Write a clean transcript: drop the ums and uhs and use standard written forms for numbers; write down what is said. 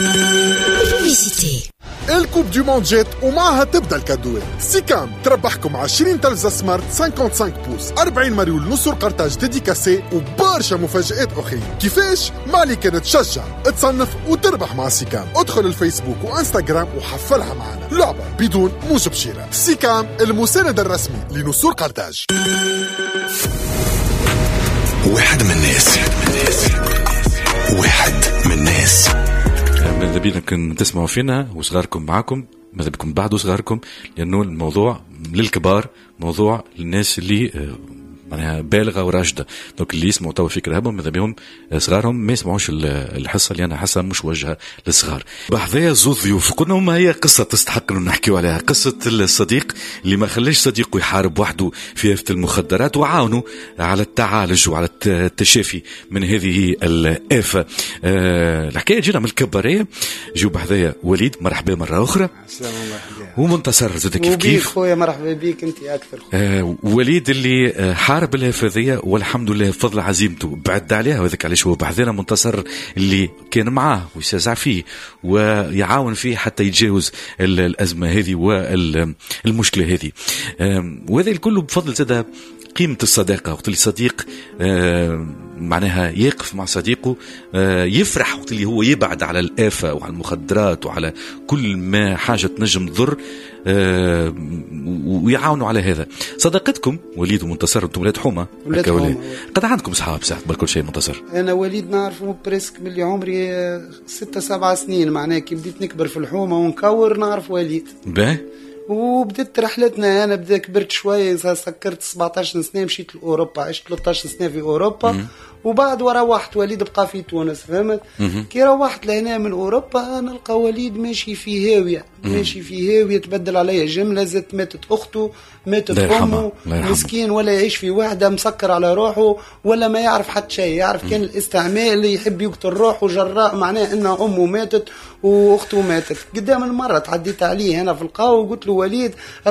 Publicité. ال coupe du monde جات ومعها تبدا ال cadeau ات. سيكام تربحكم 20 تلفزة smart 55 pouces، 40 مريول نسور قرطاج dédicacé وبرشا مفاجآت اخرين. كيفاش؟ مالي كانت تشجع، تصنف وتربح مع سيكام. ادخل الفيسبوك وانستغرام وحفلها معنا، لعبة بدون موجب شراء. سيكام، المساند الرسمي لنسور قرطاج. واحد من الناس، واحد من الناس. ماذا بينا كن تسمعوا فينا وصغاركم معاكم، ماذا بكم بعدوا صغاركم، لانه الموضوع للكبار، موضوع للناس اللي معناها بالغة وراشده. donc اللي يسمعوا توا في كراهبهم، ماذا بهم صغارهم ما يسمعوش الحصه، لانها حصة مش وجهه للصغار. بحذايا زوز ضيوف، قلنا ما هي قصة تستحق انه نحكيو عليها، قصة الصديق اللي ما خلاش صديقه يحارب وحده في آفة المخدرات وعاونه على التعالج وعلى التشافي من هذه الآفة. الحكاية جينا من الكباريه، جيو بحذايا وليد، مرحبا مرة اخرى. السلام عليكم. ومنتصر زاد كيف وبيك كيف. خويا، مرحبا بيك انت اكثر. وليد اللي حارب الآفة والحمد لله بفضل عزيمته بعد عليها، وذاك علاش هو بحذانا. منتصر اللي كان معاه ويشجع فيه ويعاون فيه حتى يتجاوز الأزمة هذه والمشكلة هذه، وهذا الكل بفضل زاد قيمة الصداقة. وقت اللي صديق معناها يقف مع صديقه، يفرح وقت اللي هو يبعد على الآفة وعلى المخدرات وعلى كل ما حاجة تنجم تضر، ويعاونوا على هذا. صداقتكم وليد ومنتصر، انتم ولاد حومة. ولاد هكا ولا؟ حومة. قد عندكم صحاب ساعة قبل كل شيء منتصر؟ انا وليد نعرفه presque من اللي عمري 6 7 سنين، معناها كي بديت نكبر في الحومه ونكور نعرف وليد. باهي. وبدت رحلتنا، انا بدا كبرت شويه، سكرت 17 سنه، مشيت لاوروبا، عشت 13 سنة في اوروبا وبعد وروحت، وليد بقى في تونس، فهمت؟ كي روحت لهنا من اوروبا نلقى وليد ماشي في هاويه، ماشي في هاويه، تبدل عليا جمله، زدت ماتت اخته، ماتت الله يرحمها، امه. الله يرحمه. مسكين ولا يعيش في وحده، مسكر على روحه، ولا ما يعرف حتى شيء، يعرف كان الاستعمال، اللي يحب يقتل روحه جراء معناه ان امه ماتت واخته ماتت. قدام المرة تعديت عليه هنا في القهوة وقلت له وليد